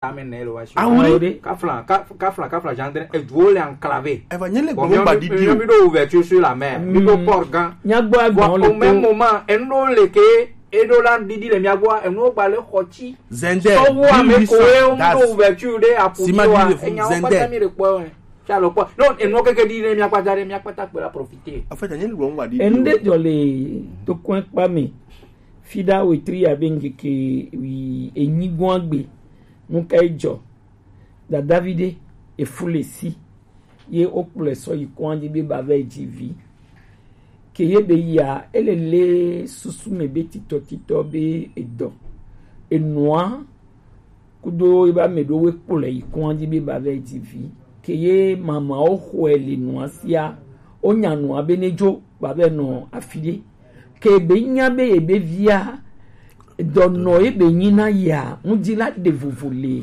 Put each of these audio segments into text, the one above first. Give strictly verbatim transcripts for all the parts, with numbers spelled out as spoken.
Amen, ne lo wa si. Ah oui. Kafla, kaf-, kafla, kafla, jandre, e duo le enclavé. Eva, nye le Bon, gbɔn mi, ba mi, didi mi, o. Mi do ouverture sur la mer. Mi do port gan. Nya gbɔ Bon, agbɔn le au même to. Moment, enu le ke, e do la didi le mia gbɔ, enu ba le xɔti. Zende, Sɔwu ame ko e, mille huit cents, o mi do ouverture de aputi Sima wa, di le fu, e nya o zende. Kpata mi le kpɔ, e. Tsa lo kpɔ. Non, enu keke di ne mia kpata de, mia kpata kpe la profiter. En fait, nye le gbɔn ba didi o. Enu de dzɔ le to kɔn kpa mi. Fida wetri abe ŋkeke wi enyi gbɔn agbe. Nu ka e dzɔ? Dadavi ɖe efu le si ye wokplɔe sɔ yi kɔn dzi be ba vɛ dzi vi. Ke ye be yia, ele le susu me be titɔtitɔ be edɔ. Enua kudo ebe ame ɖewo kplɔe yi kɔn dzi be ba vɛ dzi vi. Ke ye mamawo xɔe le nua sia, wonya nua be ne dzo ba vɛ nɔ afi ɖe. Ke be nya be ebe via, dɔnɔ ebe nyi na yia, ŋdi la ɖe vovo le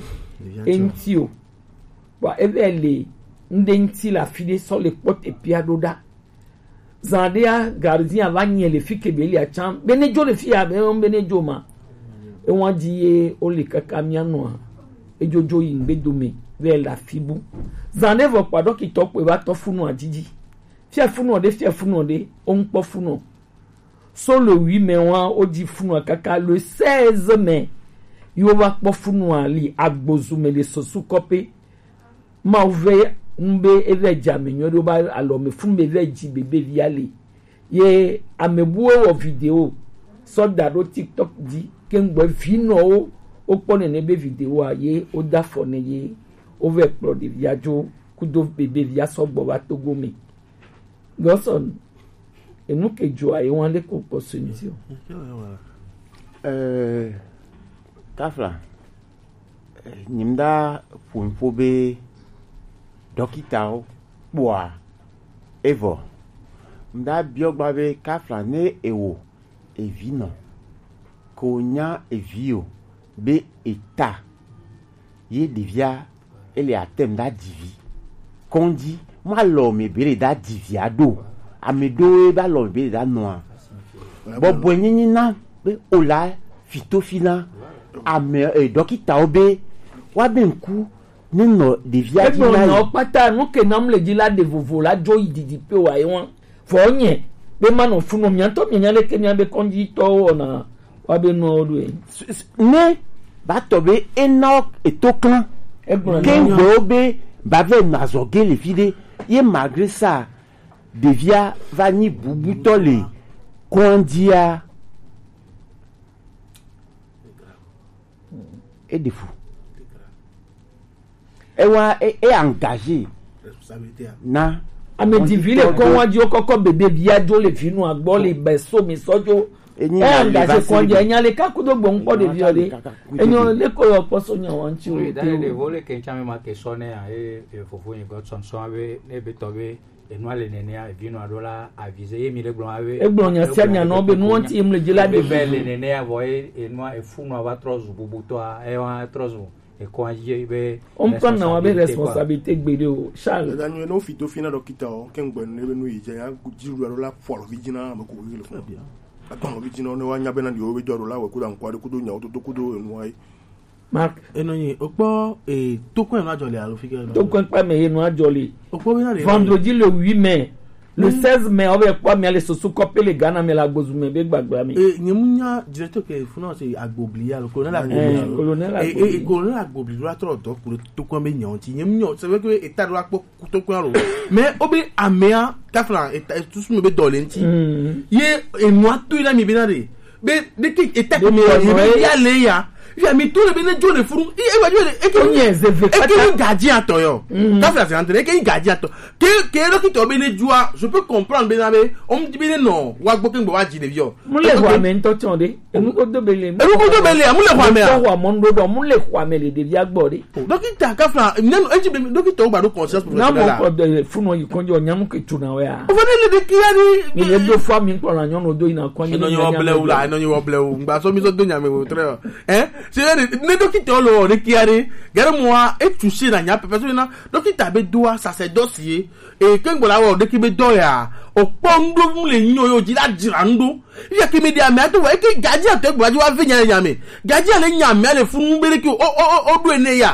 eŋti o. Bua ebe le ŋɖe ŋti le afi ɖe sɔ le kpɔ teƒea ɖo ɖa. Zan ɖea, gardien va nyɛ le fi ke be lia tsã. Be ne dzo le fi ya, be, be ne dzo ma. Ewa dzi ye wo le kaka mia nɔa. Edzodzo yi ŋgbe dome, be le afi bu. Zan ɖe vɔ kpa ɖɔkitɔ kpe va tɔ funua dzidzi. Fia funua ɖe, fia funua ɖe, wo ŋkpɔ funua. So le huit mai wa, wo dzi funua kaka le seize mai. Yo va kpɔ funua li agbozu me le sosu kɔpe. Mawu vɛ ŋbe evɛ dzi ame nyuie ɖo ba alɔ me fun be evɛ dzi bebe via le. Ye ame buwo wɔ video sɔ da ɖo TikTok dzi ke ŋgbɔ vi nɔwo wo kpɔ nene be video a ye wo da fɔ ne ye wo vɛ kplɔ ɖevia dzo kudo bebe via sɔ gbɔ va Togo me. Gɔsɔn, enu ke dzoa ye wan le ko kpɔ sɔnzi o. Eh, Kafla, eh, nyimda ƒo nuƒo be dɔkitawo kpɔa evɔ. Mda biɔ gba be Kafla ne ewo evi nɔ ko nya evi o be eta ye ɖevia ele atem da dzivi. Kɔndzi, ma lɔ me be le da dzivia ɖo. Ame ɖo ye ba lɔ me be le da nɔa. Bɔbɔe nyenye na be o la fito fi na ame, eh, dɔkitawo be wa be ŋku ne nɔ ɖevia dzi Egblɔ na nyawo yi. Kpata, nu ke nam le dzi la ɖe vovo la dzo yi didi pe wa ye wan. Vɔ nye be manɔ funɔ mia ŋutɔ mianya leke mia be kɔnditɔwo wɔna wa be nuawo ɖoe. S-, s-, ne ba tɔ be ena eto klã. Egblɔ ke na ŋgbewo be ba vɛ nɔ azɔ ge le fi ɖe ye malgré ça ɖevia va nyi bubutɔ le kɔndia. Eɖe fu. Ewa e, e engagé na ame divi le kɔn wa dzi wo kɔkɔ bebe via dzo le vinu agbɔ le be so mi sɔ dzo. Enyi E na le engagé va kɔn dzi se enya le ka kudo gbɔ ŋkpɔ ɖevi ɔ ɖe. Enyo le ko yɔ kpɔ so nya wa ŋtsi o. Oui, d'ailleurs, le vo le ke ŋtsi ame ma ke sɔ ne ya, e, e, fofo nyi Godson sɔ be ne be tɔ be enua le nenea, evinua ɖo la avize ye mi ɖe gblɔ be. Egblɔ nya sia nya nɔ be nua ŋti yim le dzi la ɖe be le nenea vɔ ye enua efunua va trɔ zu bubutɔa, ewa trɔ zu ekɔa ye be. Wo ŋutɔ na wa be responsabilité gbe ɖe o, Charles. Eda nyuie ne wofi to fi na dɔkita o, ke ŋgbe ne be nu yi dze ya dzi ɖu alo la fɔ alo vi dzi na ame ko le fɔ. Atɔ alo vi dzi na ne wa nya be na ɖi wo be dɔ ɖo la wɔ kudo ankɔ ɖe kudo nyawo toto kudo enua ye. Mark. Enɔ nyi, okpɔ, eh, tokɔn enɔ adzɔ le alo fike enɔ? Tokɔn kpa me enɔ adzɔ le. Okpɔ be na le. Vendredi le huit mai, le seize mai, ɔbɛ kpɔ mi ale soso kɔpe le Ghana me le agbozu me be gbagba me. Eh, nye mu nya directeur ke funa se agbobli alo colonel agbobli alo. Colonel agbobli. Eh, colonel agbobli la trɔ dɔ ku tokɔn be nyawo ti. Nye mu nya, c'est vrai que état doit kpɔ kutokpɛn alo. Mais obe amea kafla etusu mi be dɔ le ŋti. Ye enua to ila mi be na de. Be de ke eta ke mi ye be ya le ya. Fi ami to le be ne jo le furu. E ba jo le e ke. Onye zeve eke kata. Ni gardien atɔ yo. Kafla se entre eke ni gardien atɔ. Ke ke dɔkita be ne jua, je peux comprendre be na be. O mi be ne no wa gbo ke ngbo wa ji le yo. Mu le ho ame ŋutɔ tsɔ ɖe. Enu ko do be le. Enu ko do be le, mu le xɔa mea? Mu le xɔa me, mu le xɔa me le ɖevia gbɔ ɖe. Dɔkita kafla, nyanu, edzi be dɔkita wo ba ɖo conscience professionnelle. Na mo ko de funu yi kɔnjɔ nyanu ke tuna wea. O fane le de kia ni. Mi le do fa mi kpɔ na nyɔnu do ina kɔnjɔ. Enɔ nyɔ blewu la, enɔ nyɔ blewu. Ngba so mi so do nya me wo tre. Hein? Se ne ne dókítà lɔ ɖe kia ɖe gɛrɛ mɔa etu se na nya pɛpɛ so na dókítà be doa sacerdoce ye e ke gbɔ la wɔ ɖe ke be dɔ ya o kpɔ ŋɖo mu le nyɔ yo dzi la dzra ŋɖo iya ke me ɖe ame ato wa eke gadzi ato egbo adzi wa ve nya le nya me gadzi ale nya me ale funu be ɖe ke o o o o ɖo ene ya